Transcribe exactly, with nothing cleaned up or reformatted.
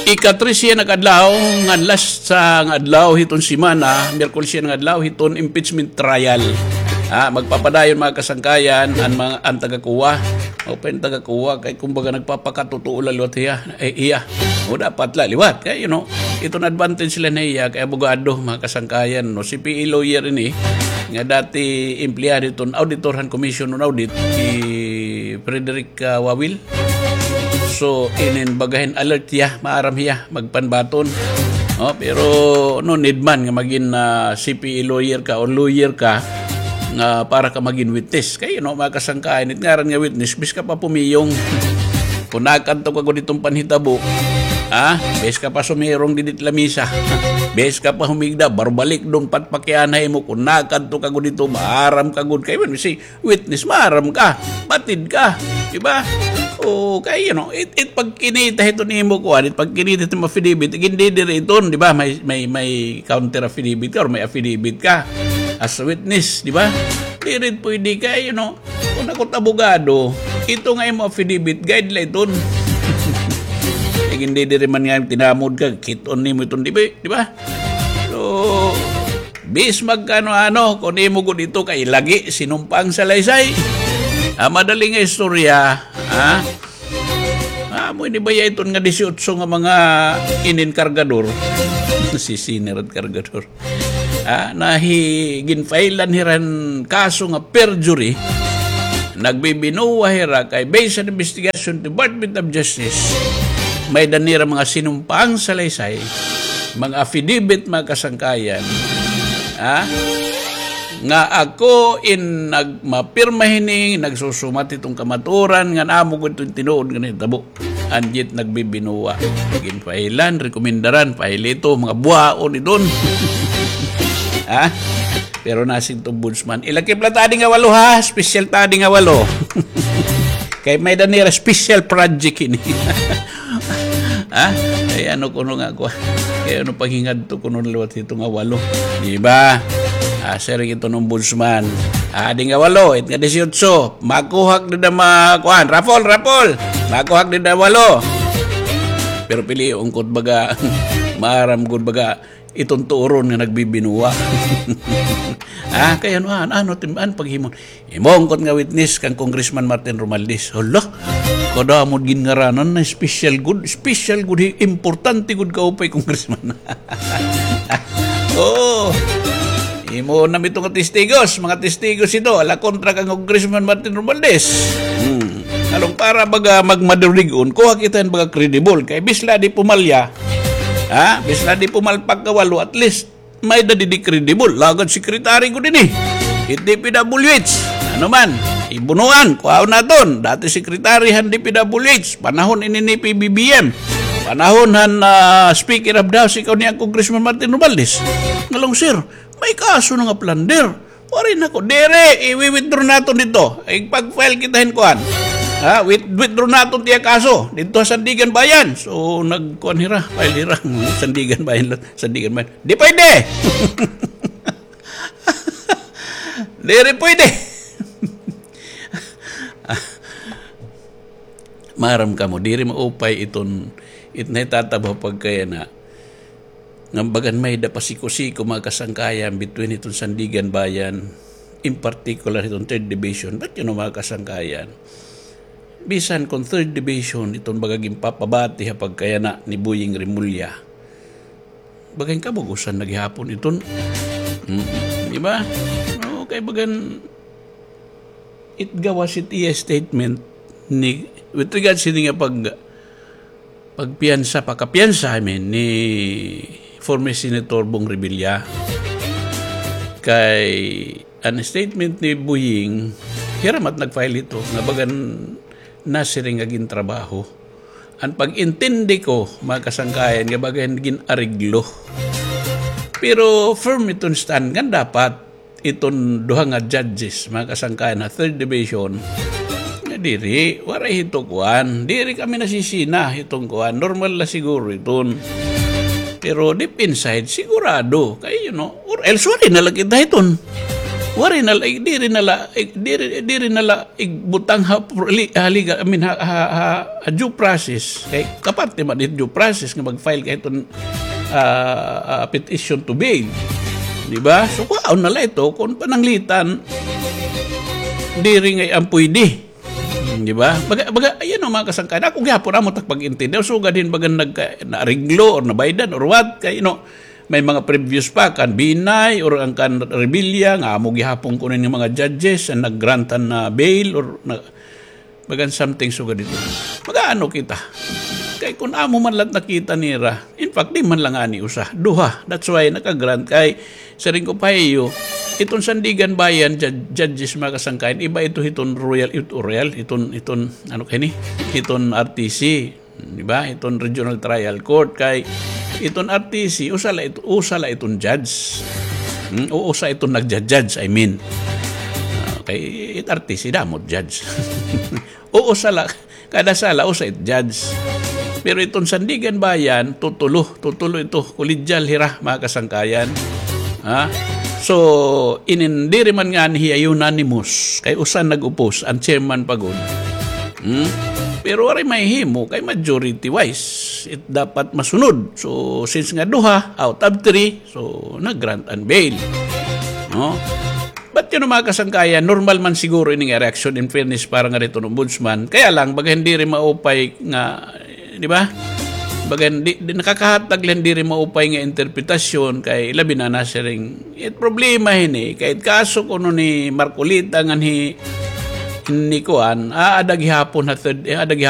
Ika-tres hiya nga adlaw, ngan last sa nga adlaw hiton semana, Miyerkules hiya nga adlaw hiton impeachment trial. Ah, magpapadayon, mga kasangkayan, an mga, an taga-COA. O pa an taga-COA, kay kumbaga nagpapakatotoo la liwat hiya. Eh, iya. O dapat la liwat. Kay, you know, iton advantage la niya, kay abogado, mga kasangkayan, no? C P A lawyer ini, nga dati empleyado hiton auditor han Commission on Audit, si Frederick, ah, Wawil. So, inin bagahin alert hiya, maaram hiya, magpanbaton. No, pero no need man nga magin, ah, C P A lawyer ka or lawyer ka nga para ka magin witness. Kay, you know, mga kasangkayan, it ngaran nga witness, bis ka pa pumiyong. Kun nakadto ka gud hiton panhitabo, ha? Bis ka pa sumirong didi hit lamisa. Bis ka pa humigda, barbalik dun, patpakianay mo. Kun nakadto ka gud hito, maaram ka gud. Kay, when we say, witness, maaram ka, batid ka, di ba? O, kay, you know, it, it pagkinita hiton imo kuan, it pagkinita hiton affidavit, gindidiri iton, di ba? May, may, may counter affidavit ka or may affidavit ka as a witness, di ba? Diri pwede kay, you know, kun ako it abogado, ito nga imo affidavit, guide la iton. Gindidiri man nga tinamod ka, kit-on nimo iton, di ba? Di ba? So, bis magkano-ano, kun imo gud ito kay lagi sinumpaang salaysay. Ah, madali nga istorya, ha? Ah, amo ini baya iton nga disiotso nga mga inin kargador. Si Sinner at kargador. Ah, nahi-, ginfailan hira hin kaso nga perjury. Nagbibinuwa hira kay based on investigation Department of Justice, may-ada nira mga sinumpaang salaysay, mga affidavit, mga kasangkayan, ha? Nga ako in nagmapirma hini, nagsusumat hiton kamatuoran, ngan amo gud iton tinuod nga nahitabo. Anjit nagbibinuwa. Ginfailan, rekomendaran, file ito, mga buhaon iton. Ha? Pero nasing ombudsman. Ilakip la ta adi nga walo, ha? Special ta adi nga walo. Kay may-ada nira special project ini. Ha? Ay, ano kuno nga ako? Kay ano paghingadto kuno liwat hito nga walo? Di ba? Ah, siring iton ombudsman. Adi nga walo, it nga disiotso. Makuha ak dida ma-, kuan. Raffle, raffle. Makuha ak dida walo. Pero pilion ko it baga, maaram gud baga, iton tuoron nga nagbibinuwa. Ah, kay ano, an-, ano, tim-, an paghimo. Imo ungkot nga witness kan Congressman Martin Romualdez. Hala, kadamo gin ngaranan na special gud, special gud, hi-, importante gud kaupay Congressman. Oo. Imo na ito nga testigos, mga testigos ito, ala kontra kan Congressman Martin Romualdez. Hmm. Along para baga magmadurig-on, kuha kita hin baga credible. Kay bis la di pumalya, ha? Bis la di pumalpag ka walo, at least, may-ada didi credible. Lagad secretary gud ini. It D P W H. Ano man, ibunuan, kuhaon naton. Dati secretary han D P W H. Panahon ini ni P B B M. Panahon han, ah, Speaker of the House, ikaw niya Congressman Martin Romualdez. Ngalong, sir, may kaso na nga plunder. Waray na ko. Diri, i-withdraw naton didto. Igpag-file kita hin kuan. Ha, with-, withdraw naton it iya kaso. Didto ha Sandiganbayan. So, nagkuan hira. File hira. Sandiganbayan la. Sandiganbayan. Di pwede! Diri pwede! Maaram kamo, diri maupay iton, it nahitatabo pagkayana. Nga bagan may-ada pasiko-siko mga kasangkayan between iton Sandiganbayan, in particular iton Third Division. But, you know, mga kasangkayan, bisan kon Third Division, iton baga ginpapabati ha pagkayana ni Boying Remulla. Bagan kabug-osan na gihapon iton. Mm, di ba? Okay, bagan it gawas it iya statement ni, with regards sini nga pag- pagpiyansa, pagkapiyansa, I mean, ni former Senator Bong Revilla. Kay an statement ni Boying, hira man it nag-file hito, nga bagan nasiring nga gintrabaho. An pag-intindi ko, mga kasangkayan, nga bagan gin-areglo. Pero firm iton stand nga dapat iton duha nga judges, mga kasangkayan, ha Third Division, nga diri, waray hito kuan. Diri kami nasisina hiton kuan. Normal la siguro iton. Pero deep inside, sigurado. Kay, you know, or else waray na la kita hiton. Waray na la, diri na la, diri, diri na la igbutang ha pro-, li-, ha legal, I mean, ha, ha, ha, ha due process. Kay kaparte man it due process nga mag-file ka hiton, ah, ah, petition to bail. Di ba? So, kuhaon na la ito kon pananglitan, diri ngay-an pwede. Hmm, di ba? Baga, baga, ayan ang mga kasangkayan. Ako gihapon, amo tak pag-intindi. Sugad hin baga nagka-, naariglo or nabaydan or what, kay, you know, may mga previous pa, kan Binay or ang kan Revilla, nga amo gihapon kuno ni mga judges ang nag-grantan na bail or na, bagan something sugad ito. Mag-aano kita? Kay kun amo man la it nakita nira, in fact, di man la ngani usa, duha. That's why naka-grant kay, siring ko pa ha iyo, iton Sandiganbayan jud-, judges, mga kasangkayan, iba ito hiton royal, it-, royal, iton, iton, ano kini? Iton R T C. Di ba? Iton Regional Trial Court kay iton R T C, usa la ito, usa la iton judge. Hmm? O usa iton nagja-judge, I mean. Ah, kay it R T C, damo it judge. O usa la, kada sala, usa it judge. Pero iton Sandiganbayan, tutulo, tutulo ito, koledyal hira, mga kasangkayan. Ha? So, inin diri man ngani hiya unanimous, kay usa nag-oppose, an chairman pa gud. Hmm? Pero waray mahihimo, kay majority wise, it dapat masunod. So, since nga duha out of three, so, nag-grant an bail. No? But, you know, mga kasangkayan, normal man siguro ini nga reaksyon, in fairness, para nga hiton ombudsman. Kaya lang, baga hin diri maupay nga, di ba? Baga hin di, di nakakahatag la hin diri maupay nga interpretasyon kay labi na nasiring. It problema hini, kay it kaso kuno ni Marcoleta ngan hi, ni kuan, aada gihapon ha third, aada gihapon